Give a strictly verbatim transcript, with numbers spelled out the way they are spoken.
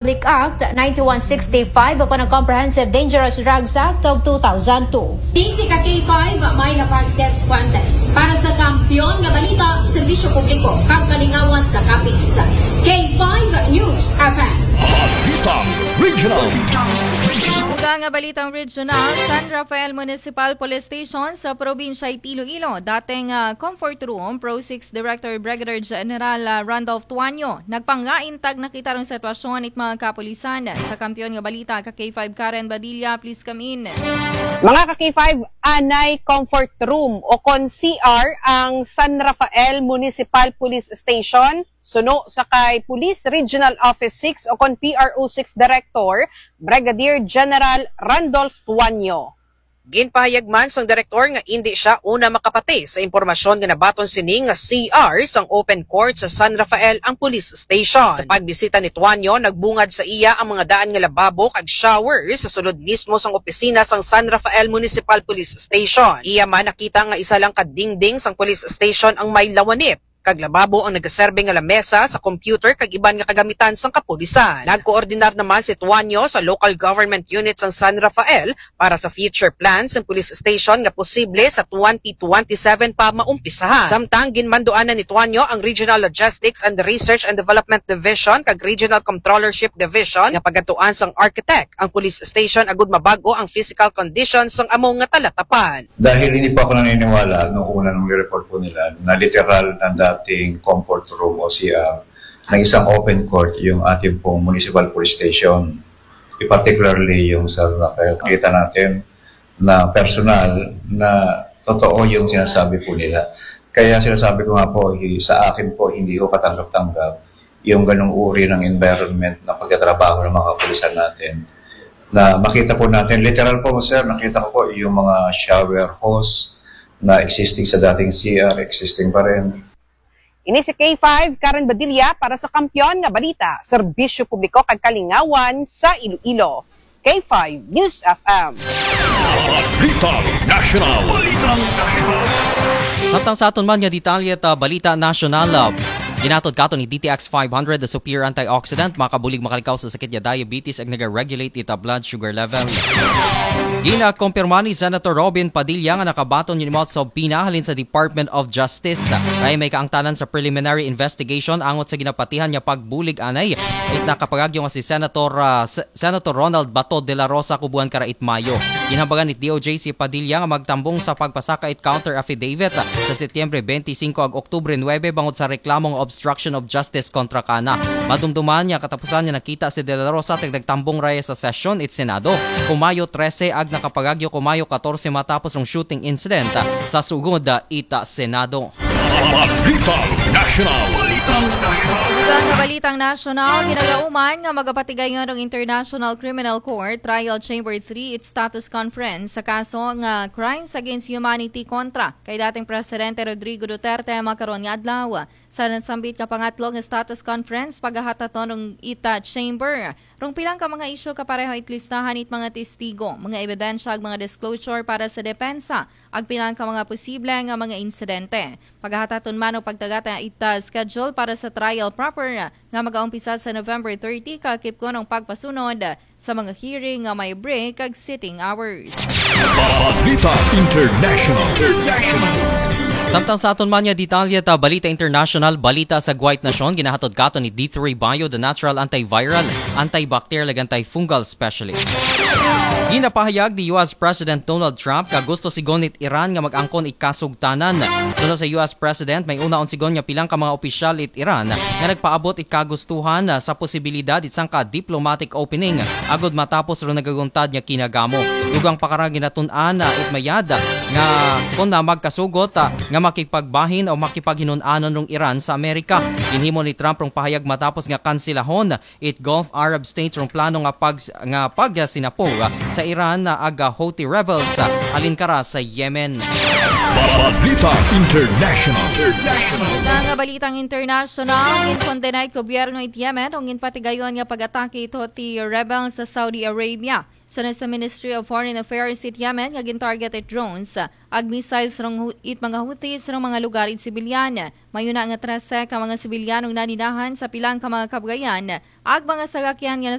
Republic Act ninety-one sixty-five o kon ang Comprehensive Dangerous Drugs Act of two thousand two. Basic ka K five, may na Paskes Fuentes. Para sa kampiyon nga balita, serbisyo publiko, kag kalingawan sa kapis. K five News F M. Balitang Regional. Ug ang balitang regional, San Rafael Municipal Police Station sa probinsya it Iloilo, dating ah, comfort room, Pro six Director Brigadier General ah, Randolph Tuanyo, nagpangain tag nakita rong sitwasyon it mga kapulisan. Sa kampiyon nga balita, ka K five Karen Badilla, please come in. Mga ka K five, anay comfort room o kon C R ang San Rafael Municipal Police Station, suno sa kay Police Regional Office six o kon P R O six Director, Brigadier General Randolph Tuanyo. Ginpahayag man sang direktor nga indi siya una makapati sa impormasyon nga nabaton sini nga C R sang open court sa San Rafael ang police station. Sa pagbisita ni Tuanyo, nagbungad sa iya ang mga daan nga lababo kag shower sa sulod mismo sang opisina sang San Rafael Municipal Police Station. Iya man nakita nga isa lang ka dingding sang police station ang may lawanit, kag lababo ang nagaserbe nga lamesa sa computer kag iban nga kagamitan sang kapulisan. Nagkoordinar naman si Tuanyo sa local government unit sang San Rafael para sa future plans sang police station nga posible sa twenty twenty-seven pa maumpisahan. Samtang ginmanduanan ni Tuanyo ang Regional Logistics and Research and Development Division kag Regional Controllership Division nga pagadtuan sang architect ang police station agud mabag-o ang physical condition sang amo nga talatapan. Dahil hindi po ako naniniwala nung una nung report po nila na literal na dating comfort room o C R ng isang open court yung ating pong municipal police station. Particularly yung sa Rafael. Kita natin na personal na totoo yung sinasabi po nila. Kaya sinasabi ko nga po, sa akin po, hindi ko katanggap-tanggap yung ganong uri ng environment na pagtatrabaho ng mga kapulisan natin. Na makita po natin, literal po sir, nakita ko po yung mga shower hose na existing sa dating C R, existing pa rin. Ini si K five, Karen Badilla para sa Kampiyon nga Balita, Serbisyo Publiko kag Kalingawan sa Iloilo. K five News F M. Balitang National. Balitang National. Samtang sa aton man nga detalye ta balita nasyonal, ah, ginatod kato ni D T X five hundred, the superior antioxidant, makabulig makalikaw sa sakit nga diabetes ag nag-regulate ita blood sugar level. Ginakompirma ni Senator Robin Padilla nga nakabaton yung imot sa pina halin sa Department of Justice. Kaya may kaangtanan sa preliminary investigation angot sa ginapatihan niya pagbulig anay it nakapagagyo nga si Senator ah, Se- Senator Ronald Bato de la Rosa kubuan kara it Mayo. Ginhabagan it D O J si Padilla nga magtambong sa pagpasaka it counter affidavit sa Setyembre twenty-five ag Oktubre nuebe bangod sa reklamong obstruction of justice kontra kana. Madumduman niya katapusan niya nakita si de la Rosa tagdagtambong raya sa sesyon it Senado ku Mayo trese ag nakapagagyo ku Mayo katorse matapos ng shooting incident sa sugod ita Senado. Balitang National. Ug ang balitang nasyonal, ginagauman nga magapatigayon ng International Criminal Court Trial Chamber three its status conference sa kaso nga crimes against humanity kontra kay dating Presidente Rodrigo Duterte makaron nga adlaw. Sa nasambit nga pangatlo nga status conference, paghahataton ng ita chamber rong pilang ka mga isyu kapareho it listahan it mga testigo, mga ebidensya ag mga disclosure para sa depensa ag pilang ka mga posible nga mga insidente. Paghahataton man og pagtagata ita schedule para sa trial proper nga magaumpisa sa November thirty kakipkon ang pagpasunod sa mga hearing nga may break ag sitting hours. Balita International. International. Samtang sa aton man nga detalye ta balita international, balita sa Guwait Nasyon, ginahatod kato ni D three Bio, the natural antiviral, antibacterial, ag antifungal specialist. Ginapahayag ni U S President Donald Trump nga gusto sigon it Iran nga mag-angkon it kasugtanan. Suno sa U S President, may unaon sigon nga pilang ka mga opisyal it Iran nga nagpaabot it kagustuhan sa posibilidad it sangka diplomatic opening agud matapos ro nagaguntad nga kinagamo. Dugang pakara ginatun-an it mayad nga kon na magkasugot nga makipagbahin o makipaghinun-anon rong Iran sa Amerika. Ginhimo ni Trump rong pahayag matapos nga kansilahon it Gulf Arab States rong plano nga pag nga pagsinapog sa Iran ag Houthi rebels halin kara sa Yemen. Balita International. Mga balitang international, ginkondena'y gobyerno it Yemen ug ginpatigayon nga pag-atake it Houthi rebels sa Saudi Arabia. Sa sa Ministry of Foreign Affairs it Yemen nga gin-target it drones ag missiles rong hu- it mga Houthis rong mga lugar it sibilyan. Mayo na nga trese ka mga sibilyan ang naninahan sa pilang ka mga kabugayan ag mga sarakyan nga